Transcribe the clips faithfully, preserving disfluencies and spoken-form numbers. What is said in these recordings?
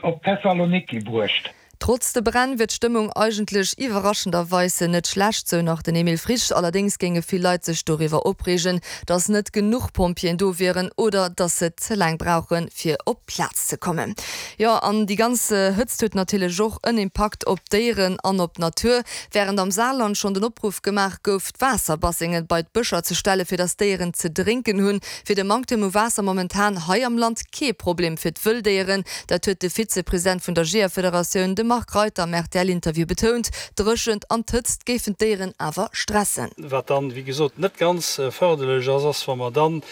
op Thessaloniki bruecht. Trotz de Bränn wier d'Stëmmung eigentlech iwwerraschenderweis net schlecht, sou nach den Emile Frisch. Allerdéngs géinge vill Leit sech doriwwer opreegen, datt net genuch Pompjeeën do wieren oder datt se ze laang brauchen, fir op d'Plaz ze kommen. Jo, an déi ganz Hëtzt huet natierlech och en Impakt op d'Déieren an op d'Natur. Wärend am Saarland schonn den Opruff gemaach gouf, d'Waasserbassengen bei d'Bëscher ze stellen, fir datt d'Déieren ze drénken hunn, wier de Manktem u Waasser momentan hei am Land kee Problem fir d'Wëlldéieren. Dat huet de Vizepresident vun der Jeeërfederatioun, de Marc Reiter, am R T L-Interview betount. D'Dréchent an d'Hëtzt géifen d'Déieren awer stressen. Wat dann, wéi gesot, net ganz fërderlech ass, ass, wa mer dann,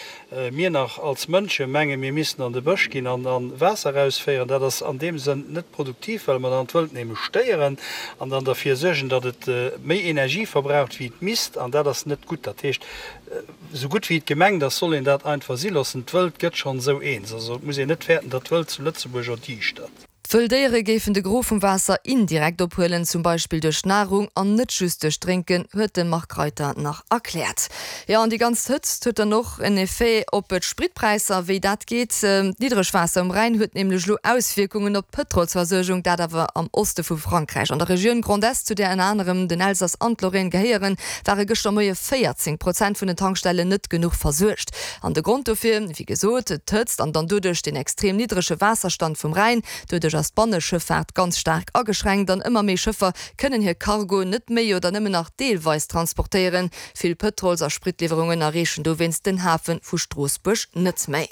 mir nach als Mënsche mengen, mir missten an de Bësch ginn an dann Waasser erausféieren. Dat ass an deem Sënn net produktiv, well mer dann d'Wëld nämlech stéieren an dann derfir suergen, datt et méi Energie verbraucht, wéi et misst, an dat ass net gutt. Dat heescht, esou gutt wéi et gemengt ass, soll een dat einfach si loossen. D'Wëld gëtt schonn esou eens. Also et muss een net fäerten, datt d'Wëld zu Lëtzebuerg erdiischtert. D'Wëlldéiere géifen de Gros vum Waasser indirekt ophuelen, zum Beispill duerch Nahrung an net just duerch Drénken, huet de Marc Reiter nach erkläert. Jo, an déi ganz Hëtzt huet dann och en Effet op d'Spritpräisser. Wéi dat geet? D'Niddregwaasser um Rhäin huet nämlech elo Auswierkungen op d'Pëtrolsversuergung, dat awer am Oste vu Frankräich. An der Regioun Grand Est, zu där ënner anerem den Elsass an d'Lorraine gehéieren, ware gëschter Moie véierzéng Prozent vun den Tankstellen net genuch versuergt. An de Grond dofir, wéi gesot, d'Hëtzt an dann doduerch den extrem niddrege Waasserstand vum Rhäin. Doduerch ass d'Banneschëffaart ganz staark ageschränkt an ëmmer méi Schëffer kënnen hir Cargo net méi oder nëmmen nach deelweis transportéieren. Vill Pëtrols a Spritliwwerungen erreechen dowéinst den Hafe vu Stroossbuerg net méi.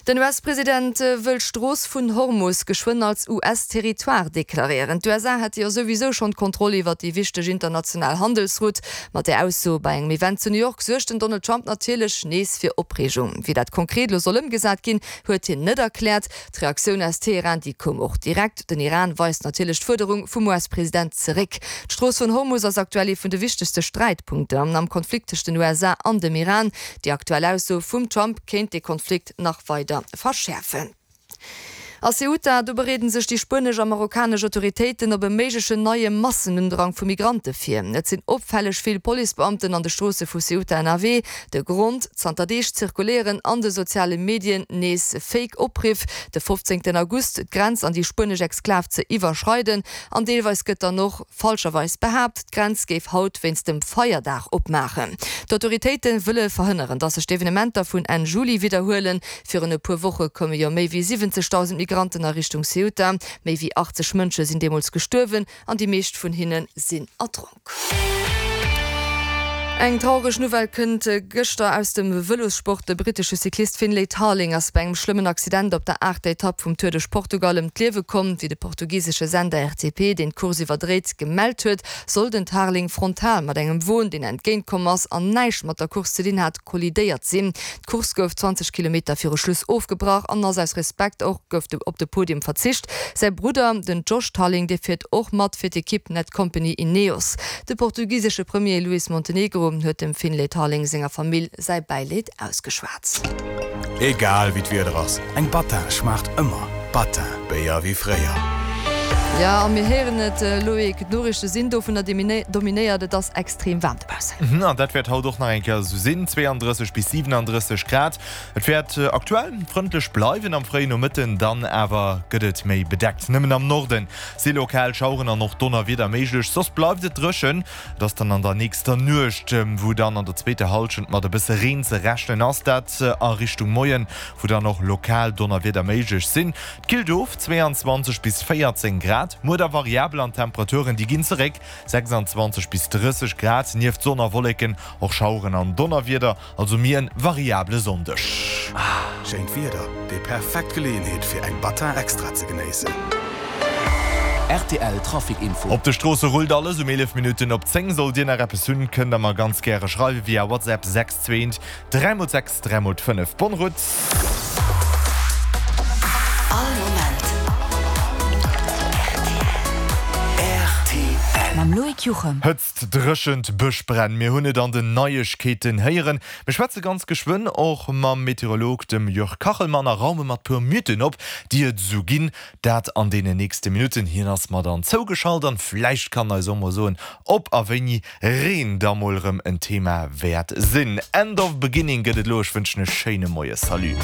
Den U S-President wëll d'Strooss vun Hormus geschwënn als U S-Territoire deklaréieren. D'U S A hätte jo souwisou schonn d'Kontroll iwwer déi wichteg international Handelsroute. Mat där Ausso bei engem Event zu New York suergt den Donald Trump natierlech nees fir Opreegung. Wéi dat konkret elo soll ëmgesat ginn, huet hien net erkläert. D'Reaktioun aus Teheran, déi koum och direkt. Den Iran weist natierlech d'Fuerderung vum U S-President zeréck. D'Strooss vun Hormus ass aktuell ee vun de wichtegste Sträitpunkter am Konflikt tëscht den U S A an dem Iran. Déi aktuell Ausso vum Trump kéint de Konflikt nach weider verschäerfen. A Ceuta, do bereeden sech déi spuenesch a marokkanesch Autoritéiten op e méiglechen neie Massenundrang vu Migrante vir. Et sinn opfälleg vill Policebeamten an de Stroosse vu Ceuta ënnerwee. De Grond, Zanter Deeg zirkuléieren an de soziale Medien nees Fake Opriff, de fofzéngten August d'Grenz an déi spuenesch Exklav ze iwwerschreiden. An deelweis gëtt dann och falscherweis behaapt, d'Grenz géif haut wéinst dem Feierdag opmaachen. D'Autoritéite wëlle verhënneren, datt sech d'Evenementer vun Enn Juli widderhuelen. Virun e puer Woche koume jo méi wéi siwwenzegdausend Migranten a Richtung Ceuta. Méi wéi achtzeg Mënsche sinn deemools gestuerwen an déi meescht vun hinne sinn erdronk. Eng traureg Nouvelle kënnt gëschter aus dem Vëlossport, De brittesche Cyclist Finlay Tarling ass bei engem schlëmmen Accident op der aachter Etapp vum Tour duerch Portugal ëm d'Liewe komm. Wéi de portugisesche Sender R T P, deen d'Course iwwerdréit, gemellt huet, soll den Tarling frontal mat engem Won, deen entgéint komm ass an näischt mat der Course ze dinn hat, kollidéiert sinn. D'Course gouf zwanzeg Kilometer viru Schluss ofgebrach an ass aus Respekt och gouf op de Podium verzicht. Säi Brudder, den Josh Tarling, dee fiert och mat fir d'Ekipp Netcompany Ineos. De portugisesche Premier Luís Montenegro huet dem Finlay Tarling senger Famill säi Bäileed ausgeschwat. Egal wéi d'Wieder ass, eng Battin schmaacht ëmmer. Battin, Béier wéi fréier. Jo, a mir héieren et, Loïc, d'Noriichte sinn dovunner dominéiert, et ass extrem waarm dobaussen. An dat wäert haut och nach eng Kéier esou sinn, zweeandrësseg bis siwenandrësseg Grad. Et wäert aktuell frëndlech bleiwen, am fréien Nomëtten dann awer gëtt et méi bedeckt. Nëmmen am Norde si lokal Schaueren an och Donnerwieder méiglech, soss bleift et dréchen. Et ass dann an der nächster Nuecht, wou dann an der zweeter Hallschent mat e bësse Reen ze rechnen ass, dat a Richtung Moien, wou dann och lokal Donnerwieder méiglech sinn. Et killt of, zweiundzwanzeg bis véierzéng Grad, muer da variabel an d'Temperaturen déi ginn zeréck, sechsanzwanzeg bis drësseg Grad, nieft Sonn a Wolleken och Schaueren an Donnerwieder, also méi en variabele Sonndeg. Schéint Wieder, déi perfekt Geleeënheet fir eng Battin Extra ze genéissen. R T L Trafic Info. Op de Stroosse rullt alles. Um eelef Minutten op zéng sollt Dir nach eppes hunn, kënnt der mer ganz gäre schreiwe via WhatsApp sechs zwee dräi mol sechs dräi mol fënnef. Bonne route! All Moment R T L. Mam Loïc Juchem. Hëtzt, Dréchent, Bëschbränn, mir hunn et an den Neiegkeeten héieren. Mir schwätze ganz geschwënn och mam Meteorolog, dem Jörg Kachelmann, a raume mat puer Mythen op, déi et esou ginn. Dat an deenen nächste Minutten. Hien ass mer dann zougeschalt an vläicht kann eis och mol soen, ob a wéini Reen da mol erëm en Thema wäert sinn. End of Beginning gëtt et elo. Ech wënschen e schéine Moie. Salut.